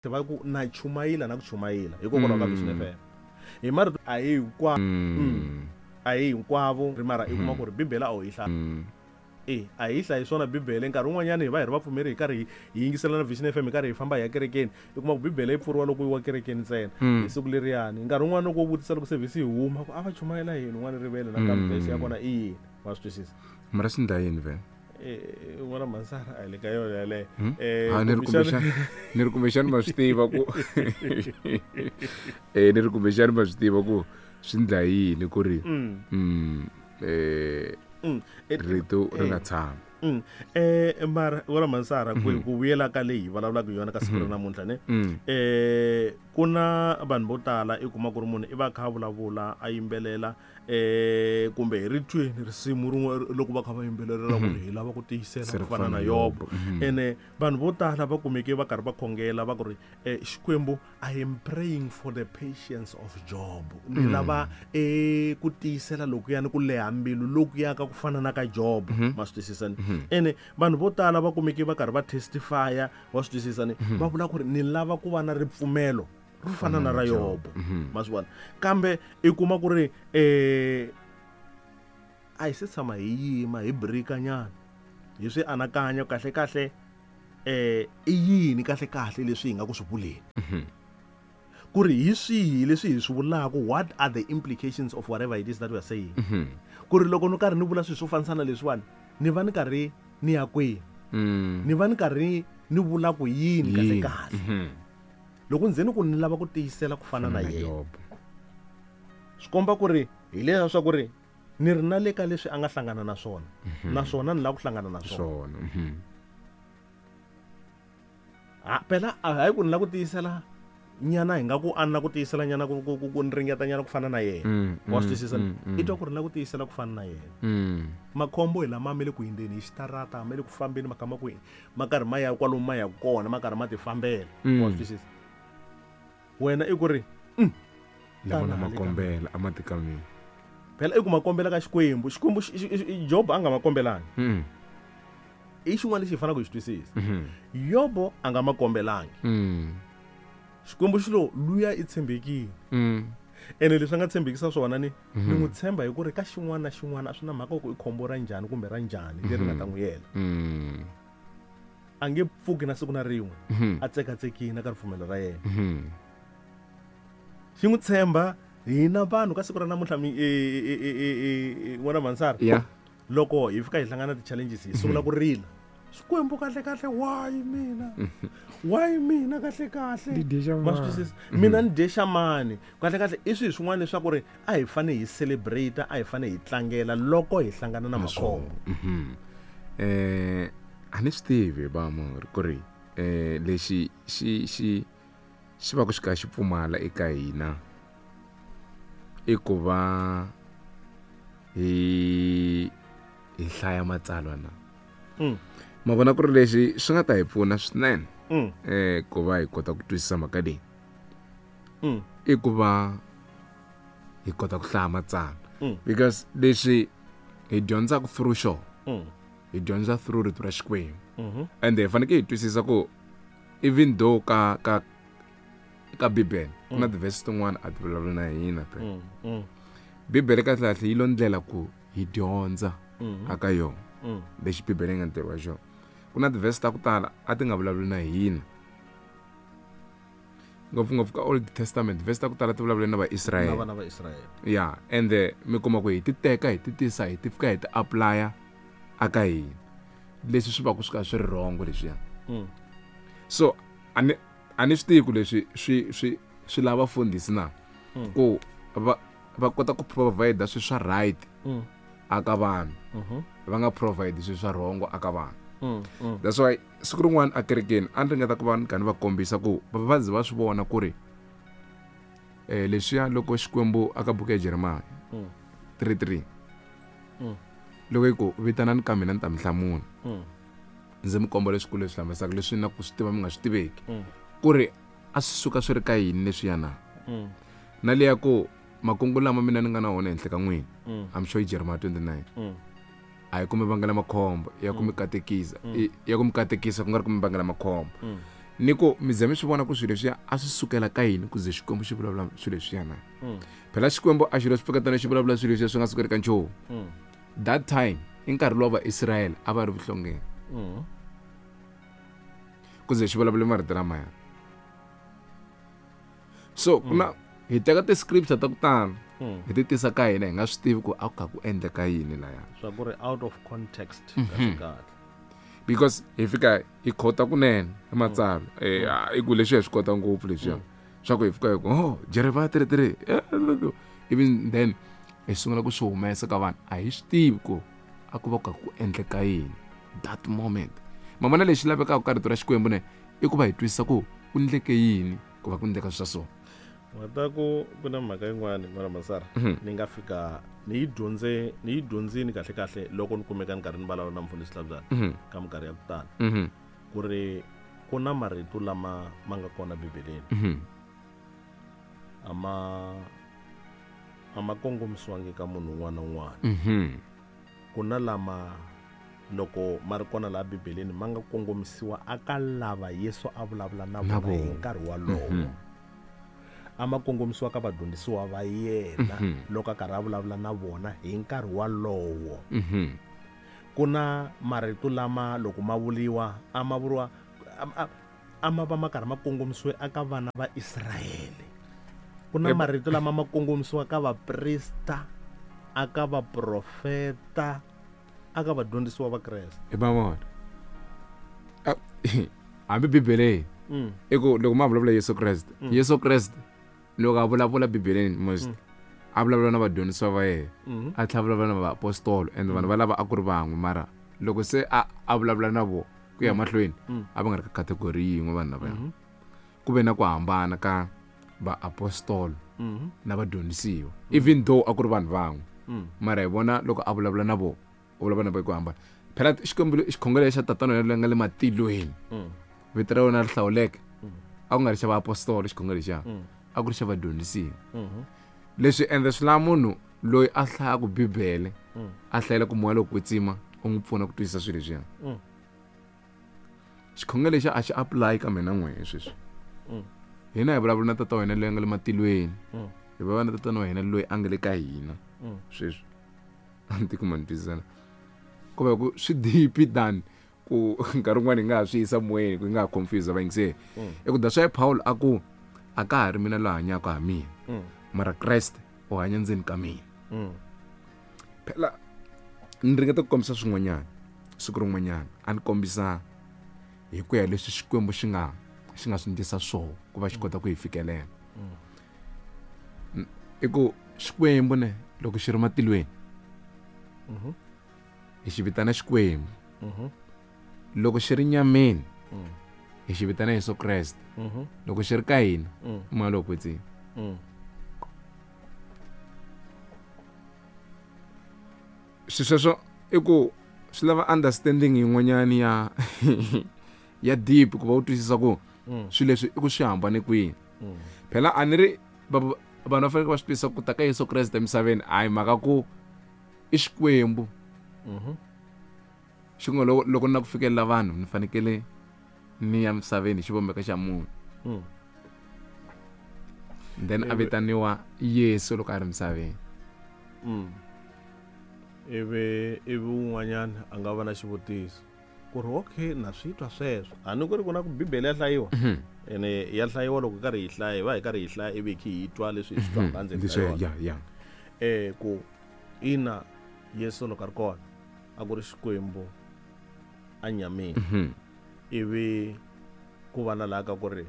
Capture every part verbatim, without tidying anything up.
Va ku na chumayila na ku chumayila hikokwalaho ka Vision F M. Hi marito a hi hinkwavo, a hi hinkwavo ri mara i kuma ku ri Bibele a wu yi hlaya. E a hi hlayi swona Bibele nkarhi wun'wanyana hi va hi ri vapfumeri hi karhi hi yingisela na Vision F M hi karhi hi famba hi ya kerekeni i kuma ku Bibele yi pfuriwa loko yi wa kerekeni ntsena hi siku leriyani. Nkarhi wun'wana loko u vutisa loko service yi huma ku a va chumayela yini un'wana rivele nakambe verse ya kona i yini wa swi twisisa. Mara swi ndla yini vhele? Eh n'wana Mansara a hi le ka yona yaleyo. Eh ni ri kumbexana ni ri kumbexana ma swi tiva ku eh ni ri kumbexana ma swi tiva ku swi ndla yini ku ri mm eh rito ri nga tshami. Eh mara n'wana Mansara ku ku vuyela ka leyi hi vulavulaka yona ka siku ra namuntlha ne eh ku na vanhu vo tala i kuma ku ri munhu i va kha vulavula a yimbelela eh kumbe hi ri tweni risimu rin'we loko va kha va yimbelela ku ri hi lava ku tiyisela ku fana na Yobo. Ene vanhu vo tala va kumeke va karhi va khongela va ku ri Xikwembu, I am praying for the patience of Job. Ni lava eh ku tiyisela lokuyani ku leha mbilu lokuya ka ku fana na ka Job. Ma swi twisisa ni? Ene vanhu vo tala va kumeke va karhi va testify wa swi twisisa ni? Va vula ku ri ni lava ku va na ripfumelo ro fana na ra Yobo. Ma swi vona? Kambe i kuma ku ri eh a hi se tshama hi yima hi brika nyana hi swi anakanya kahle kahle eh i yini kahle kahle leswi hi nga ku swi vuleni. Ku ri hi swihi leswi hi swi vulaka, what are the implications of whatever it is that we are saying. Ku ri loko ni karhi ni vula swilo swo fanisana leswiwani ni va ni karhi ni ya kwihi, ni va ni karhi ni vula ku yini kahle kahle. Loko ndzeni ku ni lava ku tiyisela ku fana na yena swi komba ku ri hi leswa swa ku ri ni ri na le ka leswi a nga hlangana na swona naswona ni lava ku hlangana na swona. Ha phela a hayi ku ni lava ku tiyisela nyana hi nga ku a ni lava ku tiyisela nyana ku ku ku ni ringeta nyana ku fana na yena. Wa swi twisisa? I twa ku ri lava ku tiyisela ku fana na yena. Makhombo hi lama ma le ku hindzeni hi xitarata ma le ku fambeni ma kha ma ku ma karhi ma ya kwalomu ma ya kona ma karhi ma ti fambela. Wa swi twisisa? Wena i ku ri lava na makombela a ma tika mina. Phela i ku makombela ka Xikwembu. Xikwembu Job a nga makombelangi. I xin'wana lexi hi faneleke hi xi twisisa. Yobo a nga makombelangi. Xikwembu xi lo luya i tshembekile. Ene leswi a nga tshembekisa swona ni ni n'wi tshemba hi ku ri ka xin'wana na xin'wana a swi na mhaka ku i khombo ra njhani kumbe ra njhani leri nga ta n'wi yela. A nge pfuki na siku na rin'we a tsekatsekile ka ripfumelo ra yena. Xi n'wi tshemba hina vanhu ka siku ra namuntlha n'wana Mansara. Loko hi fika hi hlangana na ti-challenges hi sungula ku rila. Xikwembu kahle kahle why mina? Why mina kahle kahle? Ma swi twisisa? Mina ni dye xamani. Kahle kahle i swilo swin'wana leswaku ri a hi fane hi celebrate, a hi fane hi tlangela loko hi hlangana na makhombo. Eh a ni swi tivi va mo ku ri eh lexi xi xi xi va ku xi ka xi pfumala eka hina i ku va hi hi hlaya matsalwa na. Ma vona ku ri lexi swi nga ta hi pfuna swinene eh ku va hi kota ku twisisa mhaka leyi i ku va hi kota ku hlaya matsalwa because leswi hi dyondzaka through xona hi dyondza through rito ra Xikwembu. And hi fanekele hi twisisa ku even though ka ka ka Bibele ku na ti-verse tin'wana a ti vulavuli na hina phela. Bibele kahle kahle yi lo ndlela ku hi dyondza aka yona lexi Bibele yi nga ntirho wa xona. Ku na ti-verse ta ku tala a ti nga vulavuli na hina ngopfungopfu ka Old Testament verse ta ku tala ti vulavule na Vaisrael. Na vana va Israel. Yeah, and mi kuma ku hi ti teka hi ti tisa hi ti fika hi ti applya aka hina leswi swi va ku swi ka swi ri wrong leswiya. So a ni a ni swi tivi ku leswi swi swi swi lava fundhisi na ku va va kota ku provide swilo swa right aka vanhu va nga provide swilo swa wrong aka vanhu. That's why siku rin'wana a kerekeni a ni ringeta ku va ni karhi ni va kombisa ku va ze va swi vona ku ri eh leswiya loko Xikwembu aka buku ya Jeremiah three three loko yi ku vitanani ka mina ni ta mi hlamula ndzi mi komba leswikulu leswi hlamarisaka leswi na ku swi tiva mi nga swi tiveki ku ri a swi suka swi ri ka yini leswiya na na leya ku makungu lama mina ni nga na wona henhla ka n'wina I'm sure i Jeremiah twenty-nine a hi ku mi vangela makhombo ya ku mi katekisa ya ku mi katekisa ku nga ri ku mi vangela makhombo. Ni ku mi ze mi swi vona ku swilo leswiya a swi sukela ka yini ku ze Xikwembu xi vulavula swilo leswiya na. Phela Xikwembu a xi lo swi pfuketana xi vulavula swilo leswiya swi nga sukeli ka nchumu. That time i nkarhi lowu va Israyele a va ri vuhlongeni. Ku ze xi vulavula marito lamaya. So kuna hi teka ti-scripture ta ku tala hi ti tisa ka hina hi nga swi tivi ku a ku kha ku endleka yini laya. Swa ku ri out of context kahle kahle. Because hi fika hi khota kunene hi matsalwa eh i ku leswi hi swi kota ngopfu leswiya swa ku hi fika hi ku oh Jeremiah thirty-three even then hi sungula ku swi humesa ka vanhu a hi swi tivi ku a ku va ku ku endleka yini that moment. Mamana lexi lavekaka ka rito ra Xikwembu ne i ku va hi twisisa ku ku endleke yini ku va ku endleka swa so. Wa ku ku na mhaka yin'wana mara Masara ni nga fika ni yi dyondze ni yi dyondzini kahle kahle loko ni kumeka ni karhi ni vulavula na mfundhisi Hlabyana ka minkarhi ya ku tala ku ri ku na marito lama ma nga kona Bibeleni a ma a ma kongomisiwangi ka munhu un'wana na un'wana. Ku na lama loko ma ri kona laha Bibeleni ma nga kongomisiwa aka lava Yesu a vulavula na vona hi nkarhi wolowo. A ma kongomisiwa ka vadyondzisiwa va yena loko a karhi a vulavula na vona hi nkarhi wolowo. Ku na marito lama loko ma vuriwa a ma vuriwa a ma va ma karhi ma kongomisiwe aka vana va Israyele. Ku na marito lama ma kongomisiwa ka vaprista, aka vaprofeta, aka vadyondzisiwa va Kreste. I va vona hambi Bibeleni i ku loko ma vulavula Yesu Kreste, Yesu Kreste loko a vulavula Bibeleni most a vulavula na vadyondzisiwa va yena a tlhela vulavula na vaapostolo and vanhu va lava a ku ri van'we mara loko se a a vulavula na vo ku ya mahlweni a va nga ri ka category yin'we vanhu lavaya. Ku ve na ku hambana ka vaapostolo na vadyondzisiwa even though a ku ri vanhu van'we mara hi vona loko a vulavula na vo u vulavula na vo hi ku hambana. Phela Xikwembu xikhongelo xa tatana wa yena nga le matilweni vito ra wena ri hlawuleke a ku nga ri xa vaapostolo xikhongelo lexiya a ku ri xa vadyondzisiwa. Leswi endla swi lava munhu loyi a hlayaka Bibele a hlayela ku moya lowo kwetsima u n'wi pfuna ku twisisa swilo leswiya. Xikhongelo lexi a xi apply ka mina n'we sweswi. Hina hi vulavula na tata wa hina loyi a nga le matilweni hi vulavula na tatana wa hina loyi a nga le ka hina sweswi. A ni tikuma ni twisisana ku va ku swi deep than ku nkarhi wun'wani hi nga ha swi yisa moyeni ku hi nga ha confuse vayingiseri. I ku that's why Paul a ku a ka ha ri mina loyi hanyaka ha mina mara Kreste u hanya ndzeni ka mina. Phela ni ringeta ku kombisa swin'wanyana siku rin'wanyana a ni kombisa hi ku ya leswi Xikwembu xi nga xi nga swi endlisa swona ku va xi kota ku hi fikelela. I ku Xikwembu ne loko xi ri matilweni hi xi vitana Xikwembu. Loko xi ri nyameni hi xi vitana Yesu Kreste. Loko xi ri ka hina moya lowo kwetsima. Xisweswo i ku swi lava understanding yin'wanyana ya ya deep ku va u twisisa ku swilo leswi i ku swi hambane kwihi. Phela a ni ri vanhu va fanele va swi twisisa ku ta ka Yesu Kreste emisaveni a hi mhaka ku i Xikwembu xi ngo loko loko na ku fikelela vanhu ni fanekele ni ya misaveni xivumbeko xa munhu. Then a vitaniwa Yesu loko a ri misaveni. Ivi ivi un'wanyana a nga va na xivutiso ku ri okay na swi twa sweswo a ni ku ri ku na ku Bibele ya hlayiwa ene ya hlayiwa loko karhi hi hlaya hi va hi karhi hi hlaya ivi hi hi twa leswi hi swi twaka endzeni ka yona. Eh ku ina Yesu loko a ri kona a ku ri Xikwembu a nyameni ivi ku va na laha ka ku ri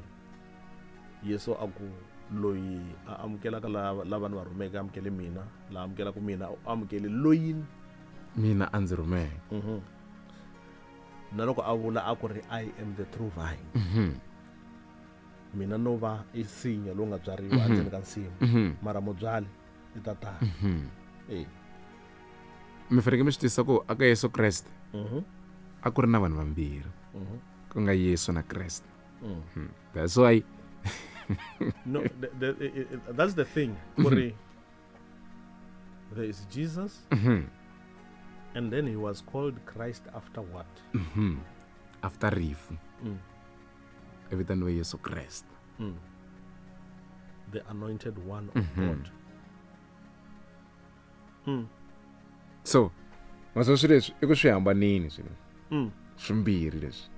Yesu a ku loyi a amukelaka lava lava ni va rhumeke amukele mina la amukelaka mina u amukele loyi mina a ndzi rhumeke. Na loko a vula a ku ri I am the true vine. Mina no va i nsinya lowu nga byariwa endzeni ka nsimu mara mubyali i tatana. Eh mi fanekele mi swi twisisa ku aka Yesu Kreste a ku ri na vanhu vambirhi ku nga Yesu na Kreste. That's why no the, the, it, it, that's the thing. Kuri there is Jesus and then he was called Christ after what? Mm-hmm. After rifu. Mm. I vitaniwe Yesu Kreste. Mm. The anointed one of mm-hmm. God. Mm. So maswo swilo leswi i ku swi hambanini swilo. Mm. Swimbirhi leswi.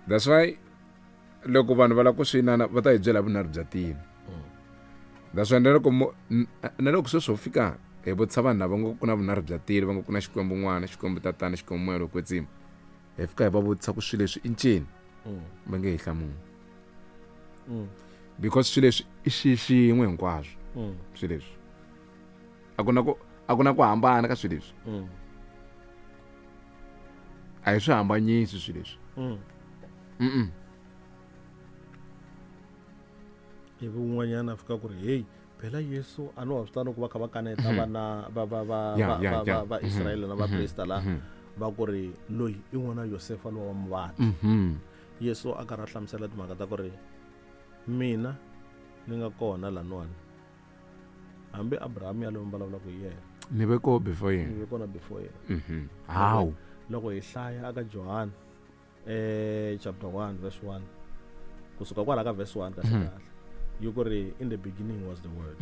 That's why loko vanhu va lava ku swi inana va ta hi byela vunharhu bya tilo. That's why na loko na loko sweswo fika hi vutisa vanhu lava ngo ku na vunharhu bya tilo, va ngo ku na Xikwembu N'wana, Xikwembu Tatana, Xikwembu Moya lowo Kwetsima. Hi fika hi va vutisa ku swilo leswi i ncini, va nge hi hlamuli. Because swilo leswi i xi xin'we hinkwaswo. Swilo leswi a ku na ku a ku na ku hambana ka swilo leswi. A hi swi hambanyisi swilo leswi. Mm. Ivi un'wanyana a fika ku ri hey phela Yesu a no wa swi tano ku va kha va kaneta vana va va va va va va Israyele na vaprista la va ku ri loyi i n'wana Yosefa lowa wa muvati. Yesu a karhi a hlamusela timhaka ta ku ri mina ni nga kona laniwani hambi Abraham ya loyi mi vulavulaka hi yena ni ve kona before yena, ni ve kona before yena. How loko hi hlaya aka John eh chapter one verse one kusuka kwala ka verse one kahle kahle yi ku ri in the beginning was the word.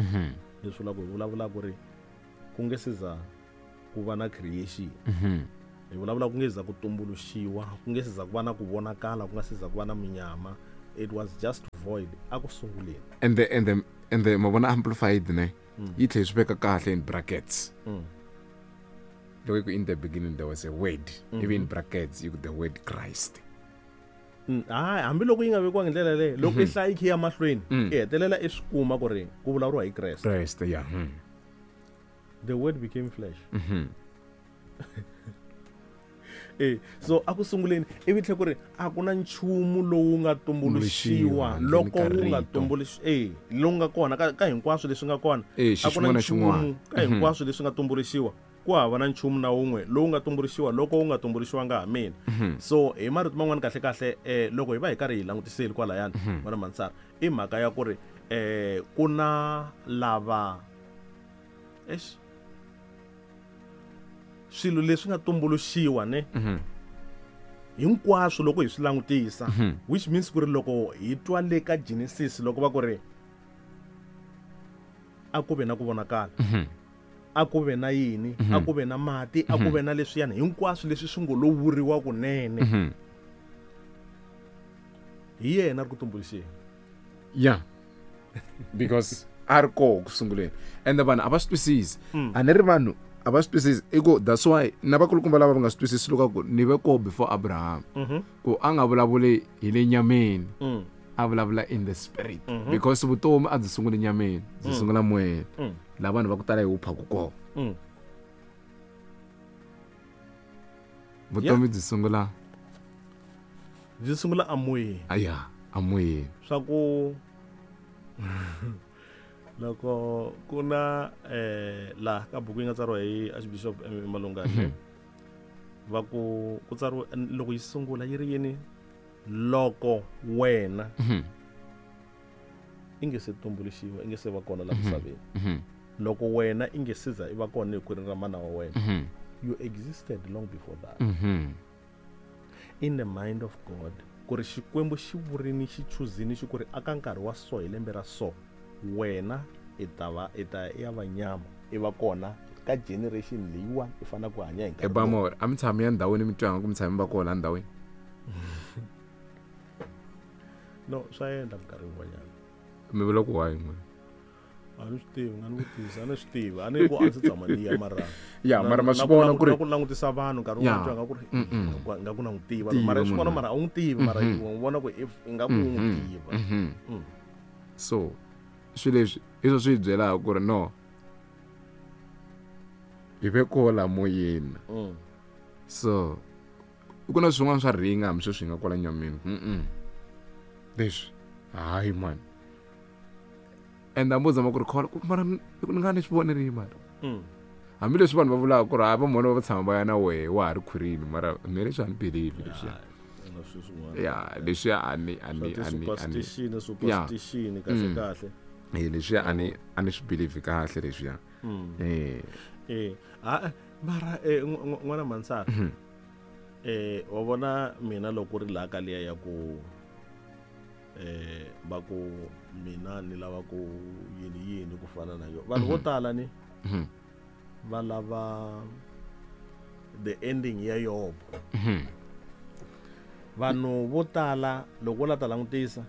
Leswi vulaka hi vulavula ku ri ku nge se za ku va na creation, hi vulavula ku nge za ku tumbuluxiwa, ku nge se za ku va na ku vonakala, ku nga se za ku va na munyama. It was just void a ku sunguleni. And the and the and the mavona amplified ne yi tlhela swi veka kahle in brackets. Loko ku in the beginning there was a word, even in brackets you the word Christ. Hayi hambiloko yi nga vekiwangi ndlela leyi, loko i hlaya yi kha ya mahlweni i hetelela i swi kuma ku ri ku vulavuriwa hi Kreste. Kreste, yeah. The word became flesh. Eh so a ku sunguleni ivi tlhe ku ri a ku na nchumu lowu nga tumbuluxiwa loko wu nga tumbuluxi eh lowu nga kona ka ka hinkwaswo leswi nga kona, a ku na nchumu ka hinkwaswo leswi nga tumbuluxiwa, ku hava na nchumu na wun'we lowu nga tumbuluxiwa loko wu nga tumbuluxiwanga ha mina. So hi marito man'wana kahle kahle eh loko hi va hi karhi hi langutiseli kwalayani n'wana Mansara, i mhaka ya ku ri eh ku na lava eish swilo leswi nga tumbuluxiwa ne hinkwaswo loko hi swi langutisa, which means ku ri loko hi twa le ka Genesis loko va ku ri a ku ve na ku vonakala, a ku ve na yini, a ku ve na mati, a ku ve na leswiyani hinkwaswo leswi swi ngo lo vuriwa kunene, hi yena ri ku tumbuluxeni. Yeah, because a ri koho ku sunguleni ende vanhu a va swi twisisi. A ni ri vanhu a va swi twisisi i ku that's why na vakulukumba lava va nga swi twisisi loko ku ni ve koho before Abraham, ku a nga vulavuli hi le nyameni, a vulavula in the spirit, because vutomi a byi sunguli nyameni, byi sungula moyeni. La vanhu va ku tala hi wu phaku kona. Vutomi byi sungula byi sungula amoyeni. Aya, amoyeni. Swa ku loko ku na eh la ka buku yi nga tsariwa hi Archbishop Malungane, va ku ku tsariwa loko yi sungula yi ri yini, loko wena i nge se tumbuluxiwa, i nge se va kona la misaveni, loko wena i nge se za i va kona hi khwirini ra mana wa wena, you existed long before that. In the mind of God, ku ri Xikwembu xi vurini xi chuzini xi ku ri aka nkarhi wa so hi lembe ra so, wena i ta va i ta ya va nyama i va kona ka generation leyiwani i fanele ku hanya hi nkarhi. Ebamor a mi tshami ya ndhawini mi twanga ku mi tshami va kona ndhawini? No, swa endla minkarhi yin'wanyana. Mi vula ku why n'wina? A ni swi tivi, nga ni vutisa, a ni swi tivi, a ni ku a ndzi tshama ni ya mara ya mara ma swi vona ku ri ku langutisa vanhu nkarhi wun'wana twa nga ku ri nga ku na n'wi tiva, mara swi vona mara a wu n'wi tivi, mara u vona ku if i nga ku n'wi tiva. So swilo leswi hi swo swi hi byelaka ku ri no hi ve kola moyeni. So ku na swin'wana swa ringa hambi sweswi hi nga kwala nyameni. Leswi hayi man, and a muzama ku ri khola mara ni nga ni swi vonerile mara hambileswi vanhu va vulaka ku ri hayi vamona va tshama va ya na wehe wa ha ri khwirini, mara me leswi a ni believe leswiya. Ya leswiya a ni a ni a ni superstition superstition kahle kahle eh leswiya a ni a ni swi believe kahle leswiya. Eh eh a mara eh n'wana Mansara Eh wa vona mina loko ri laha ka liya ya ku eh va ku mina ni lava ku yini yini ku fana na yo. Vanhu vo tala ni va lava the ending ya Yobo. Vanhu vo tala loko la ta langutisa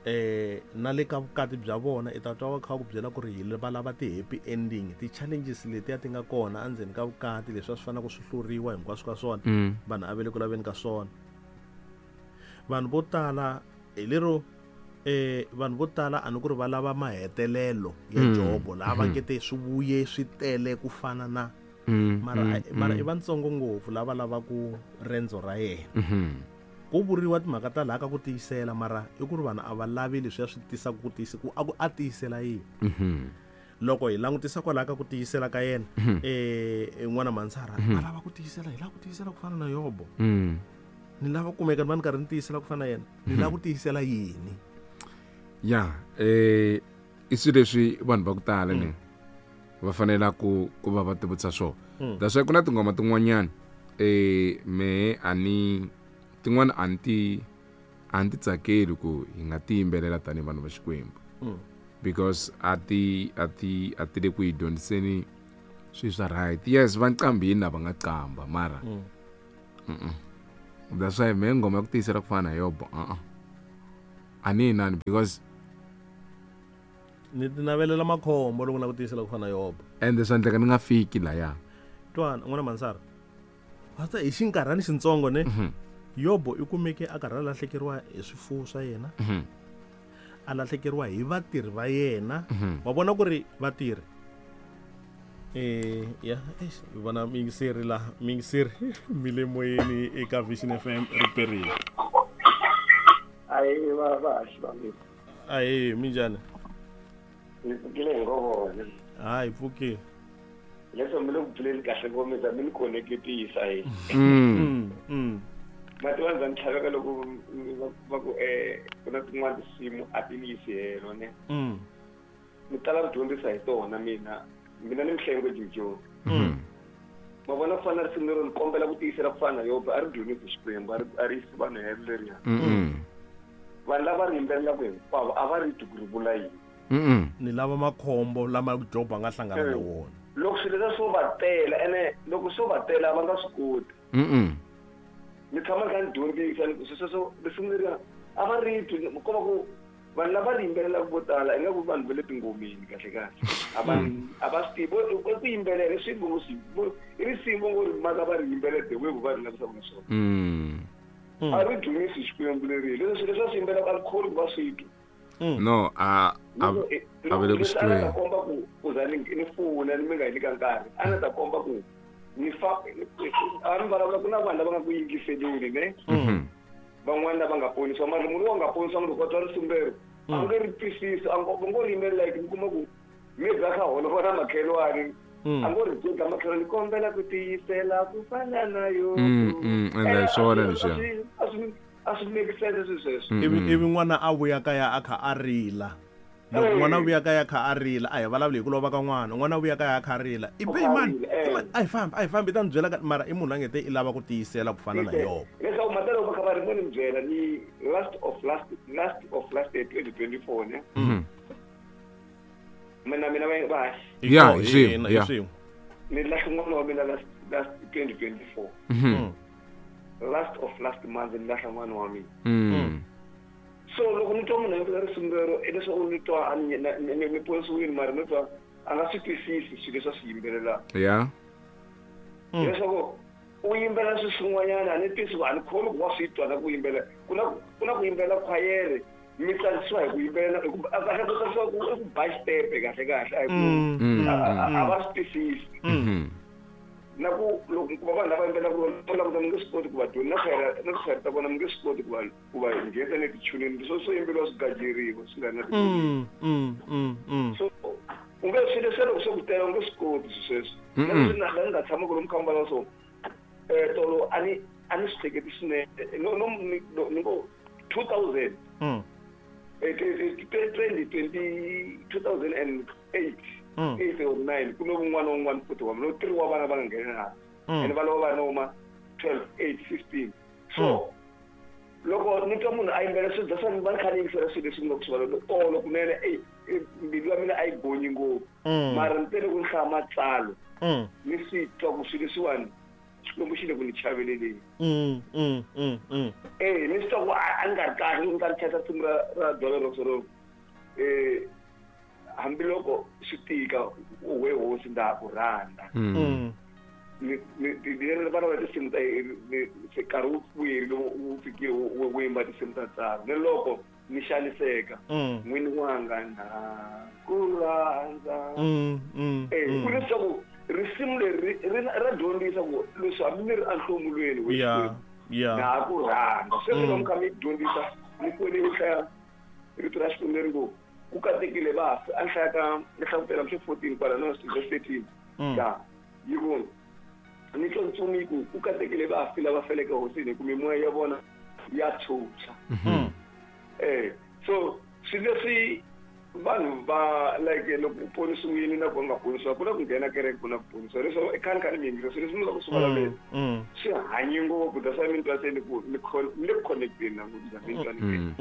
eh na le ka vukati bya vona i ta twa va kha ku byela ku ri hi va lava ti happy ending, ti challenges letiya ti nga kona endzeni ka vukati leswi a swi fanele ku swi hluriwa hinkwaswo ka swona, vanhu a va le ku laveni ka swona. Vanhu vo tala hi lero eh vanhu vo tala a ni ku ri va lava mahetelelo ya Jobo laha va nge te swi vuye swi tele ku fana na mara mara i vantsongo ngopfu lava lava ku rendzo ra yena. Ku vuriwa timhaka ta laha ka ku tiyisela mara i ku ri vanhu a va lavi leswi ya swi tisaka ku tiyisa ku a ku a tiyisela yini. Loko hi langutisa kwalaha ka ku tiyisela ka yena eh n'wana Mansara a lava ku tiyisela, hi lava ku tiyisela ku fana na Yobo. Ni lava kumeka ni va ni karhi ni tiyisela ku fana na yena, ni lava ku tiyisela yini? Ya eh i swilo leswi vanhu va ku tala ne va fanela ku ku va va tivutisa swona. That's why ku na tinghoma tin'wanyana eh me a ni tin'wana a ni ti a ni ti tsakeli ku hi nga ti yimbelela tanihi vanhu va Xikwembu because a ti a ti a ti le ku hi dyondziseni swilo swa right. Yes, va nqambini lava nga qamba mara that's why me nghoma ya ku tiyisela ku fana na Yobo a a ni inani because ni ti navelela makhombo loko na ku tiyisela ku fana na Yobo ende swa endleka ni nga fiki laya. Twana n'wana Mansara hata hi xinkarhani xintsongo ne Yobo i kumeke a karhi a lahlekeriwa hi swifuwo swa yena, a lahlekeriwa hi vatirhi va yena. Wa vona ku ri vatirhi eh ya eish hi vona miyingiseri la miyingiseri mi le moyeni eka Vision F M riperile. Ayi va va xivangelo. Ayi minjhani? Ni pfukile hi ngovona. Hayi pfukile. Leswo mi le ku pfuleni kahle ngomisa mi ni connectisa hi. Mm. Mm. Mati va ndza ni tlhaveka loko va ku eh ku na tin'wana tinsimu a ti ni yisi helo ne. Mm. Ni tala ku dyondzisa hi tona mina. Mina ni mihlengo Jojo. Mm. Ma vona ku fana na risimu lero ni kombela ku tiyisela ku fana na Yobo a ri dyondzisi Xikwembu a ri a ri yisi vanhu helo leriya. Mm. Vanhu lava ri yimbelelaka hinkwavo a va ri twi ku ri vula yini. Mm. Ni lava makhombo lama Jobo a nga hlangana na wona. Loko swilo leswi swo va tela ene loko swo va tela va nga swi koti. Mm. Ni tshama ni kha ni dyondzisa ni ku sweswo risimu leriya a va ri twi ko va ku vanhu lava ri yimbelelaka vo tala ingaku vanhu va le tingomeni kahle kahle a va a va swi tivi ku yimbelela swi ngo swi i risimu ngo ri maka va ri yimbelela the way va ri lavisaka na swona. A ri dyondzisi Xikwembu leri leswi leswi va swi yimbelelaka a ri kholi ku va swi twa. No a a a va le ku swi tweni. A komba ku ku za ni ni funa ni mi nga yi nyika nkarhi a ni ta komba ku ni fa a ni vulavula ku na vanhu lava nga ku yingiseleni ne van'wana lava nga ponisiwa mara munhu wa nga ponisiwa loko a twa risimu lero a nge ri twisisi a ngo ri yimbelela like mi kuma ku maybe a kha holova na makhelwani a ngo ri byela makhelwani kombela ku tiyisela ku fana na Yobo. Ende hi swona leswiya a swi a swi make sense swilo sweswo. Ivi ivi n'wana a vuya kaya a kha a rila. Loko n'wana a vuya kaya a kha a rila a hi vulavuli hi ku lova ka n'wana, n'wana a vuya kaya a kha a rila i be mani a hi fambi a hi fambi i ta ni byela mara i munhu a nge te i lava ku tiyisela ku fana na Yobo. Leswaku mhaka loko va kha va ri mo ni byela ni last of last last of last year twenty twenty four ne. Mina mina va va ya hi swin'we ya ni lahla n'wana wa mina last last twenty twenty four. Last of last month ni lahla n'wana wa mina. So loko ni twa munhu a yimbelela risimu lero i leswaku ni twa ni ponisiwile mara ni twa a nga swi twisisi swilo leswi a swi yimbelelaka. Ya leswaku u yimbelela swilo swin'wanyana a ni twisi a ni kholi ku wa swi twa na ku yimbelela ku na ku na ku yimbelela khwayere mi tsakisiwa hi ku yimbelela hi ku kahle ku tsakisiwa ku i ku ba xitepe kahle kahle a hi ku a va swi twisisi. Na ku loko ku va vanhu lava yimbelelaka va languta mi nge swi koti ku va dyondza na khwayere na tikhwayere ta vona mi nge swi koti ku va ku va nghenisa ni tichunini swo swo yimbeliwa swi gajeriwa swi nga ri na so u nge swilo leswi loko swo ku tela u nge swi koti swilo sweswo. Na leswi na la ni nga tshama ku lomu kha mbala so eh tolo a ni a ni swi hleketi swinene no no ni ngo two thousand twenty twenty two thousand and eight eight or nine ku lo un'wana un'wana futhi wa no three wa vana va nga nghena and va lava va noma twelve eight fifteen so loko ni twa munhu a yimbelela swilo that's why ni va ni kha ni yingisela swilo leswi ni nga ku swi vulavula tolo kunene eyi mbilu ya mina a yi gonyi ngopfu mara ni tele ku ni hlaya matsalwa ni swi twa ku swilo leswiwani Xikwembu xi le ku ni chaveleleni eh ni swi twa ku a ni nga ri kahle ni nga ri chayisa risimu ra ra Dollar Rocks ro eh hambiloko swi tika u we hosi ndza ha ku rhandza ni ni ni vana va tinsimu ta se nkarhi wu vuyerile wu fikile wu yimba tinsimu ta tsaro ni loko ni xaniseka n'wini wanga na ku rhandza eh ku leswaku risimu leri ra dyondzisa ku leswi hambi mi ri enhlomulweni we na ha ku rhandza sweswi loko mi kha mi dyondzisa ni kwele ni hlaya rito ra Xikwembu leri ngo ku katekile vafi a ni hlaya ka ni hlavutela mxo fourteen kwala no verse thirteen ya yi ku ni twa ntsumi yi ku ku katekile vafi lava feleke hosini hi ku mimoya ya vona ya tshwutshwa eh so swilo leswi vanhu va like loko u ponisiwile na ku nga ponisiwa ku na ku nghena kereke ku na ku ponisiwa leswi i khani khani mi yingisa swilo leswi mi nga ku swi vulavuleni swi hanye ngopfu that's why mi twa se ni ku ni ni le ku connecteni na ngopfu mi twa ni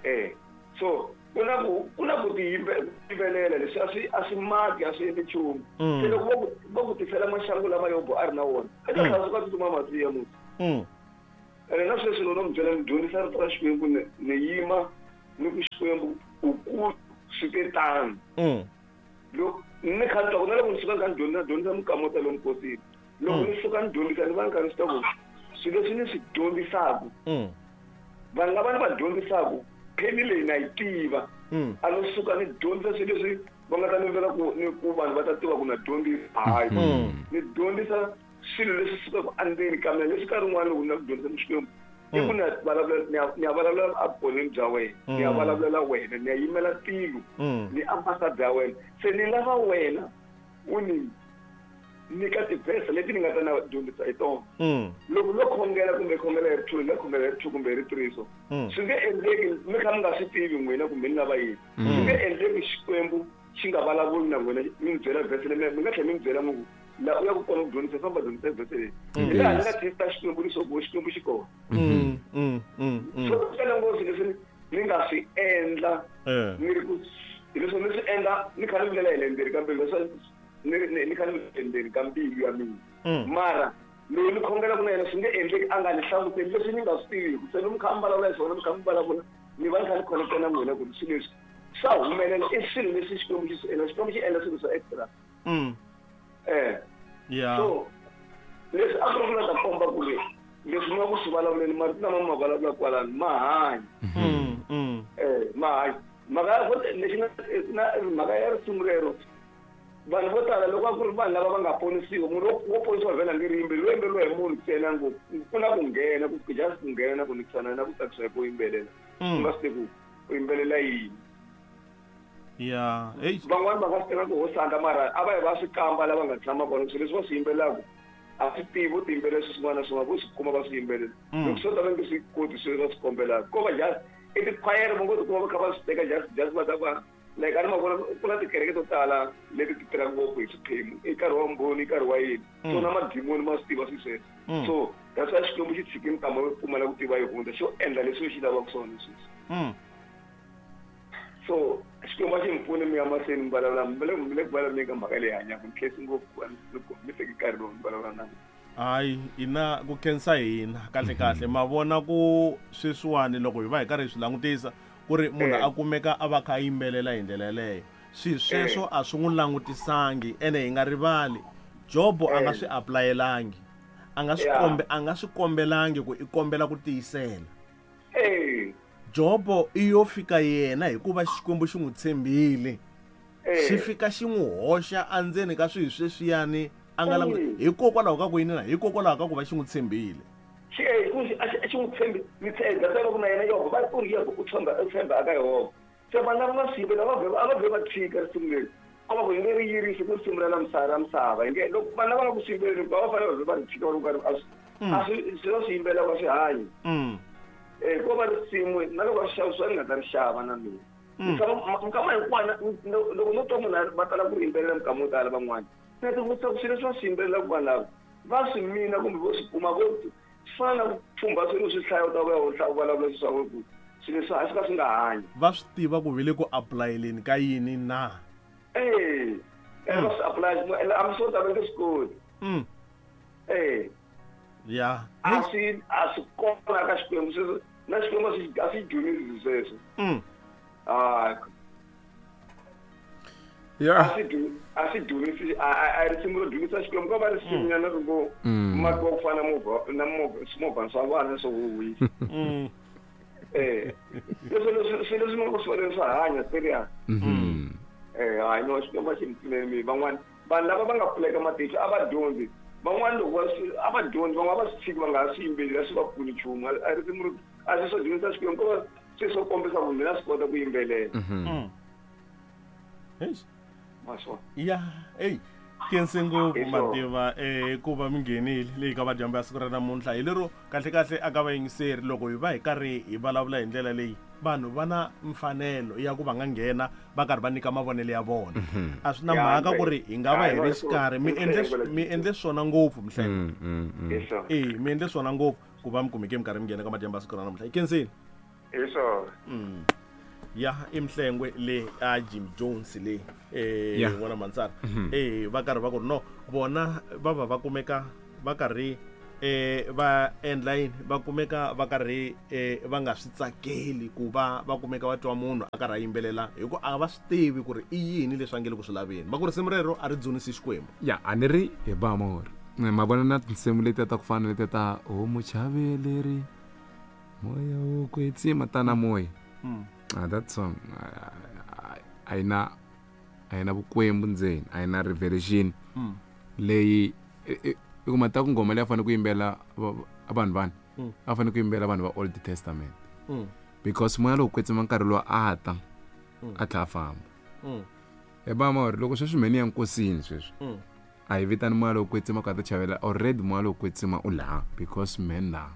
eh so ku na ku ku na ku tiyimbelela leswi a swi a swi maki a swi endli nchumu se loko va ku va ku tisela maxangu lama Yobo a ri na wona a ta tlhela suka tsutsuma masiya musi ene na sweswi loko no mi byela ni dyondzisa rito ra Xikwembu ni ni yima ni ku Xikwembu u ku swi te tano loko ni kha ni twa ku na loko ni suka ni kha ni dyondzisa dyondzisa mikamota lomu nkosini loko ni suka ni dyondzisa ni va ni kha ni swi tiva ku swilo leswi ni swi dyondzisaka vanhu lava ni va dyondzisaka pheni leyi na yi tiva a no suka ni dyondzisa swilo leswi va nga ta ni vela ku ni ku vanhu va ta tiva ku na dyondzisa hayi ni dyondzisa swilo leswi sukaka endzeni ka mina leswi nkarhi wun'wana loko ni la ku dyondzisa Xikwembu i ku ni ya vulavula ni ya ni ya vulavula evukoneni bya wena ni ya vulavulela wena ni ya yimela tilo ni ambassador ya wena se ni lava wena u ni nyika tivhese leti ni nga ta na dyondzisa hi tona loko no khongela kumbe khongela hi ri two ni nga khongela hi ri two kumbe hi ri three so swi nge endleki mi kha mi nga swi tivi n'wina kumbe ni lava yini swi nge endleki Xikwembu xi nga vulavuli na n'wina mi ni byela vhese leyi mi nga tlhela mi ni byela mi ku la u ya ku kona ku dyondzisa famba dyondzisa vhese leyi hi laha ni nga testa Xikwembu leswaku Xikwembu xi kona swo tala ngopfu leswi ni nga swi endla ni ri ku leswi ni swi endla ni kha ni vilela hi le ndzeni ka mbilu leswi ni ni kha ni endzeni ka mbilu ya mina mara loyi ni khongelaka na yena swi nge endleki a nga ni hlamuseli leswi ni nga swi tiviku se ni mi kha mi vulavula hi swona mi kha mi vulavula ni va ni kha ni connecta na n'wina ku ri swilo leswi swa humelela i swilo leswi Xikwembu xi swi endla Xikwembu xi endla swilo swa extra eh yeah so leswi a ku ri ku la ta komba ku ri leswi mi nga ku swi vulavuleni marito lama mi ma vulavula kwalano ma hanya eh ma hanya mhaka ya lexi nga na mhaka ya risimu rero vanhu vo tala loko a ku ri vanhu lava va nga ponisiwa munhu wo ponisiwa vhela nge ri yimbeli wo yimberiwa hi munhu ntsena ngopfu ku na ku nghena ku just ku nghena na ku nikisana na ku tsakisa hi ku yimbelela u nga swi tivi ku u yimbelela yini ya hey van'wani va nga swi tiva ku hosanga mara a va yi va swi kamba lava nga tshama kona swilo leswi va swi yimbelelaka a swi tivi vo ti yimbelela swilo swin'wana na swin'wana vo swi kuma va swi yimbelela loko swo ta va nge swi koti swilo va swi kombelaka ko va just i tikhwayere va ngo tikuma va kha va swi teka just just va ta va like a ni ma vona ku na tikereke to tala leti ti tirhaka ngopfu hi swiphemu i nkarhi wa mbhoni i nkarhi wa yini so na madimoni ma swi tiva swilo sweswo so that's why Xikwembu xi tshike nkama wo pfumala ku tiva yi hundza xo endla leswi xi lavaka swona sweswi so Xikwembu a xi mi pfuni mi ya mahlweni mi vulavula mi le mi le ku vulavuleni ka mhaka leyi hanyaka mi khensi ngopfu mi teki nkarhi lowu mi vulavula na mina hayi ina ku khensa hina kahle kahle ma vona ku sweswiwani loko hi va hi karhi hi swi langutisa ku ri munhu a kumeka a va kha a yimbelela hi ndlela yeleyo swi sweswo a swi n'wi langutisangi ene hi nga rivali Jobo a nga swi apulayelangi a nga swi kombe a nga swi kombelangi ku i kombela ku tiyisela Jobo i yo fika yena hikuva Xikwembu xi n'wi tshembile xi fika xi n'wi hoxa endzeni ka swilo sweswiyani a nga languti hikokwalaho ka ku yini na hikokwalaho ka ku va xi n'wi tshembile xi xi n'wi tshembi ni tshemba se loko na yena Yobo va u ri Yobo u tshemba u tshemba aka Yehovha se vanhu lava va swi yimbelela va vhe a va vhe va tshika risimu leri a va ku hi nge ri yirisi ku risimu ra la misava ra misava hi nge loko vanhu lava nga ku swi yimbeleleni va fanele va vhe va ri tshika va ri karhi a swi a swi swi va swi yimbelelaka a swi hanyi eh ko va risimu na loko va swi xavisiwa ni nga ta ri xava na mina mikama hinkwana loko no twa munhu va tala ku ri yimbelela mikama yo tala van'wana na ti vutisa ku swilo leswi va swi yimbelelaka vanhu lava Va swi mina kumbe vo swi kuma vo fana na ku pfumba swilo swi hlaya u ta vuya u hlaya u vulavula swilo swa ku swilo leswi a swi ka swi nga hanyi. Va swi tiva ku ve le ku apulayeleni ka yini na? Eh, eh va swi apply ene a mi swo ta va nge swi koti. Mm. Eh. Ya. A swi a swi kona ka Xikwembu sweswo na Xikwembu a swi a swi dyondzisi sweswo. Mm. Ah. Ya. A swi dyu- a swi dyondzisi a a a risimu ro dyondzisa Xikwembu ko va risimu nyana ri ngo mati wa ku fana na movha na movha swimovhana swa vana swo huhwisa. Mm. Eh. Leswi leswi swilo leswi mi swi swa hanya serious. Mhm. Eh, hayi no Xikwembu a xi mi pfuleli mi van'wani vanhu lava va nga pfuleka matihlo a va dyondzi van'wani loko va swi a va dyondzi van'wana va swi tshiki va nga ha swi yimbeleli a swi va pfuni nchumu a risimu ro a swi swo dyondzisa Xikwembu ko va swi swo kombisa ku mina swi kota ku yimbelela. Mm. Eish. Ma swona. Ya, ey khense ngopfu Hi swona. Mativa eh ku va mi nghenile leyi ka madyambu ya siku ra namuntlha hi lero kahle kahle aka vayingiseri loko hi va hi karhi hi vulavula hi ndlela leyi vanhu va na mfanelo ya ku va nga nghena va karhi va nyika mavonelo ya vona. A swi na Ya, mhaka ndzi- ku ri hi nga va hi Ya, ri no, xikarhi mi i endle mhlengo mi endle swona ngopfu Mhlengo. Mm, mm, mm. Hi swona. Eh mi endle swona ngopfu ku va mi kumeke mi karhi mi nghena ka madyambu ya siku ra namuntlha. Hi khensile. Hi swona. Mm. Ya i Mhlengwe le a Jim Jones le eh Ya. n'wana Mansara. Eh va karhi va ku no vona va va va kumeka va karhi eh va endla yini va kumeka va karhi eh va nga swi tsakeli ku va va kumeka va twa munhu a karhi a yimbelela hi ku a va swi tivi ku ri i yini leswi a nge le ku swi laveni va ku risimu rero a ri dzunisi Xikwembu. Ya a ni ri hi ba mori ma vona na tinsimu letiya ta ku fana na letiya ta o muchaveleri moya wo kwetsima tana moya. Mm. Ah, that song a yi na a yi na vukwembu ndzeni a yi na revelation Mm. leyi i- i i kuma ta ku nghoma leyi a fanele ku yimbela va- vanhu vani Mm. a fanele ku yimbela vanhu va Old Testament Mm. because moya lowu kwetsima nkarhi lowu a ta Mm. a tlhela a famba. Mm. Hi ba mori loko sweswi mheni ya nkosini sweswi Mm. a hi vitani moya lowu kwetsima ku a ta chavela already moya lowu kwetsima u laha because mheni laha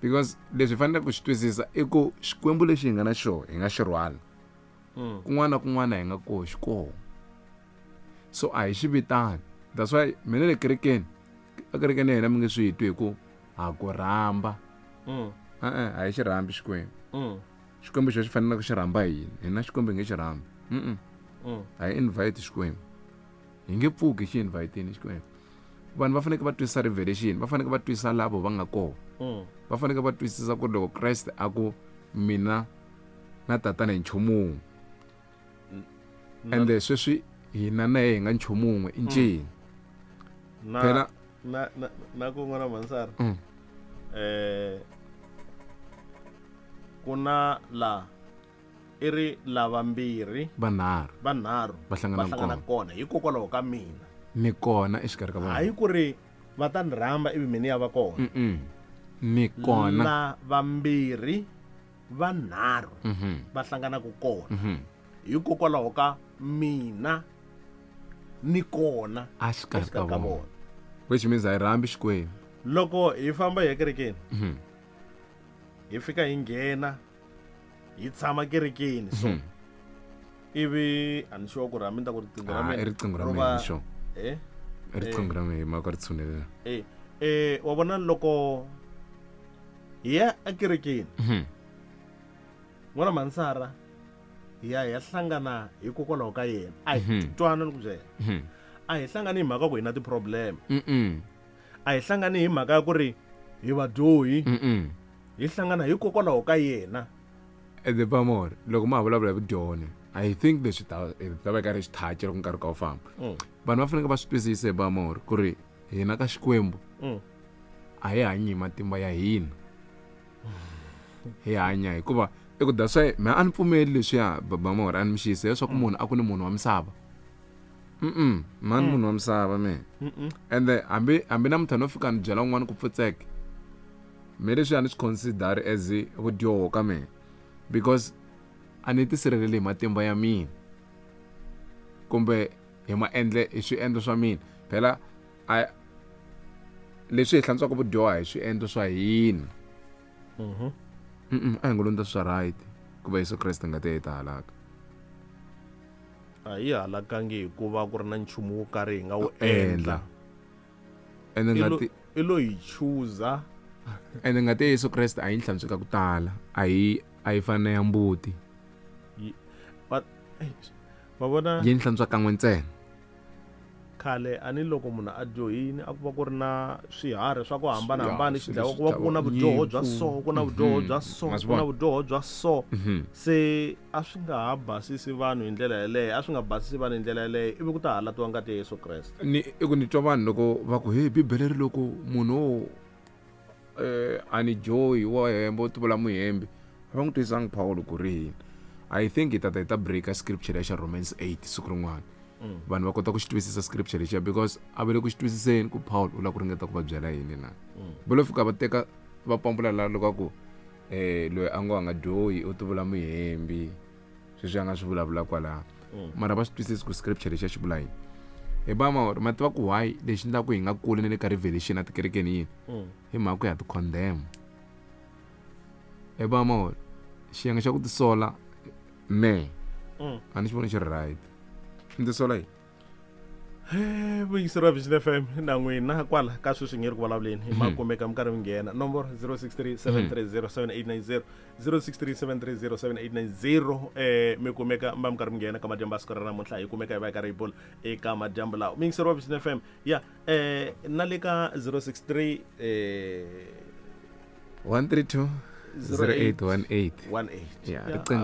because leswi hi faneleke ku swi twisisa i ku Xikwembu lexi hi nga na xona hi nga xi rhwala. Mm. Kun'wana na kun'wana hi nga koho xi koho. So a hi xi vitani. That's why mina le kerekeni ekerekeni ya hina mi nge swi twi hi ku ha ku rhamba. Mm. E-e a hi xi rhambi Xikwembu. Mm. Xikwembu xo xi faneleke ku xi rhamba hina. Hina Xikwembu hi nge xi rhambi. Mm-mm. Mm. A hi invite Xikwembu. Hi nge pfuki xi inviteni Xikwembu. Vanhu va fanekele va twisisa revelation, va fanekele va twisisa lavo va nga kona. Mm. Va fanekele va twisisa ku loko Kreste a ku mina na tatana hi nchumu wun'we. Ende sweswi hina na yena hi nga nchumu wun'we i ncini. Na Phela na na na ku n'wana Mansara. Mm. Eh ku na la i ri lavambirhi vanharhu vanharhu va hlangana va hlangana kona. kona hikokwalaho ka mina. Ni kona exikarhi ka vanhu. Hayi ku ri va ta ni rhamba ivi mina ya va kona. Mm-mm. Ni kona. Lavambirhi vanharhu Mhm. va hlanganaka kona Mhm. hikokwalaho ka mina ni kona A xikarhi ka exikarhi ka vona. vona. Which means a hi rhambi Xikwembu. Loko hi famba hi ya kerekeni Mhm. hi fika hi nghena hi tshama kerekeni so Mhm. ivi a ni sure ku ri hambi ni ta ku riqingho ra Ah, mina i riqingho ra ro mina va- ni sure. eh I riqingho ra mina hi mhaka ri tshunelela. eh eh wa vona loko hi ya ekerekeni Mhm. n'wana Mansara hi ya hi ya hlangana hikokwalaho ka yena a hi Mhm. twana ni ku byela Mhm. a hi hlangani hi mhaka ku hi na ti-problem Mm-mm. a hi hlangani hi mhaka ya ku ri hi vadyohi Mm-mm. hi hlangana hikokwalaho ka yena. Ende Pamor, loko ma ha vulavula hi vudyoni I think leswi ta hi ta va karhi xi touch loko nkarhi ka wu famba. Mm. Vanhu va fanekele va swi twisisa hi Pamor ku ri hina ka Xikwembu Mm. a hi hanyi hi matimba ya hina. Hi hanya hikuva i ku that's why mina a ni pfumeli leswiya Bamor a ni mi xisa leswaku munhu a ku ni munhu wa misava. Mm-mm, mina ni munhu wa misava mina. Mm-mm. Ende hambi hambi namuntlha no fika ni byela un'wana ku pfutseka me leswi a ni swi consider as vudyoho ka mina because a ni tisirheleli hi matimba ya mina kumbe hi maendle hi swiendlo swa mina. Phela a leswi hi hlantswaka vudyoho hi swiendlo swa hina. Mhm. Mm-mm, a hi ngo londza swa right ku va Yesu Kreste ngati ya yi ta halaka. A hi halakangi hikuva ku ri na nchumu wo karhi hi nga wu Endla. endla. Ende i lo- ngati i lo hi chuza ende ngati ya Yesu Kreste a yi hlantswi ka ku tala a yi a yi fani na ya mbuti wa vona yi hlantswa kan'we ntsena khale a ni loko munhu a dyohini a ku va ku ri na swiharhi swa ku hambanahambana Ya, xi dlawa swilo ku va ku na swi vudyoho bya nyimpfu. so ku na vudyoho Mhm. bya so Ma swi ku na vona? vudyoho bya so Mhm. se a swi nga ha basisi vanhu hi ndlela yeleyo a swi nga basisi vanhu hi ndlela yeleyo ivi ku ta halatiwa ngati ya Yesu Kreste ni i ku ni twa vanhu loko va ku hey bibele ri loko munhu wo eh a ni joyi wa hemba u tivula muhembi a va n'wi twisangi Paul ku ri yini i think hi tata hi ta breaka scripture lexa Romans eight siku rin'wana Mm. vanhu va kota ku xi twisisa scripture lexiya because a va le ku xi twisiseni ku Paul u lava ku ringeta ku va byela yini na Mm. va lo fika va teka va pambula la loko a ku eh loyi a ngo a nga dyohi u tivula muhembi sweswi a nga swi vulavula kwalaho Mm. mara va swi twisisi ku scripture lexiya xi vula yini hi ba ma ma tiva ku why lexi endlaku hi nga kuli na le ka revelation etikerekeni yini Mm. hi mhaka ku ya ti condemn hi ba ma xiyenge xa ku tisola me Mm. a ni xi voni xi ri right ni tisola yini Eh, vuyiseri wa Vision F M na n'wina kwala ka sweswi nge ri ku vulavuleni hi ma kumeka mi karhi mi nghena nomboro zero six three seven three zero seven eight nine zero zero six three seven three zero seven eight nine zero eh mi kumeka mi va mi karhi mi nghena ka madyambu ya siku ra namuntlha hi kumeka hi va hi karhi hi bula eka madyambu lawa muyingiseri wa Vision F M ya eh na le ka zero six three eh one three two zero eight one eight one eight ya Ya, riqingho